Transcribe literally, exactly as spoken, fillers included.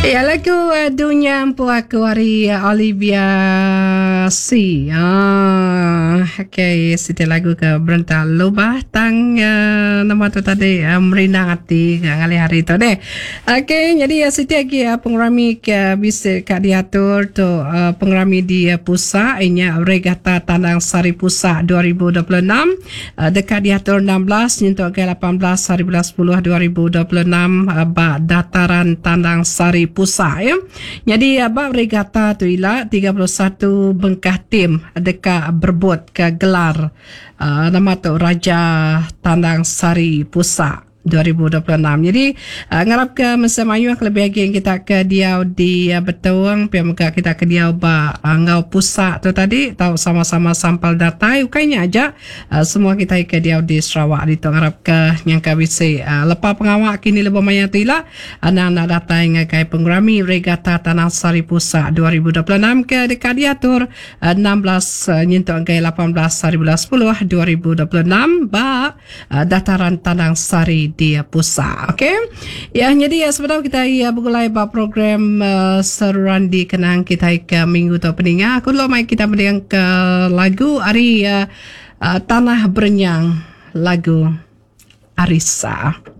Ya, lagu uh, Dunya Empu Aku ari uh, Olivia C. Ah, okay, siti lagu ke berenta lubah tang uh, nama tu tadi uh, merindang ati ke ngalih hari tu deh. Okay, jadi uh, siti lagi uh, pengerami ke bisa ka diatur tu uh, pengerami di uh, Pusa inya Regata Tandang Sari Pusa dua ribu dua puluh enam uh, dekat diatur enam belas nyentuk ke lapan belas hari bulan sepuluh dua ribu dua puluh enam uh, ba dataran Tandang Sari Pusa ya. Jadi bab regata tu ila tiga puluh satu bengkah tim dekat berebut ke gelar uh, nama tu Raja Tandang Sari Pusa dua ribu dua puluh enam. Jadi uh, ngarap ke masa mayu lebih lagi kita ke diau di uh, Betong, pia muka kita ke diau ba uh, ngau Pusa tu tadi tau sama-sama sampal datai ukainya aja uh, semua kita ke diau di Sarawak di tu ngarap ke nyangka bisi uh, lepa pengawak kini lebih maya tu ila anang nak datai ngagai pengerami Regata Tanah Sari Pusa dua ribu dua puluh enam ke dekat diatur uh, enam belas uh, nyentuk ke lapan belas hari bulan sepuluh dua ribu dua puluh enam ba uh, dataran Tanah Sari di Pusa. Okey. Ya, jadi ya sebenarnya kita ya bergulai ba program uh, seruan di kenang kita ke minggu tu peninga. Aku lo mai kita mending ke lagu ari uh, uh, Tanah Berenyang lagu Arisa.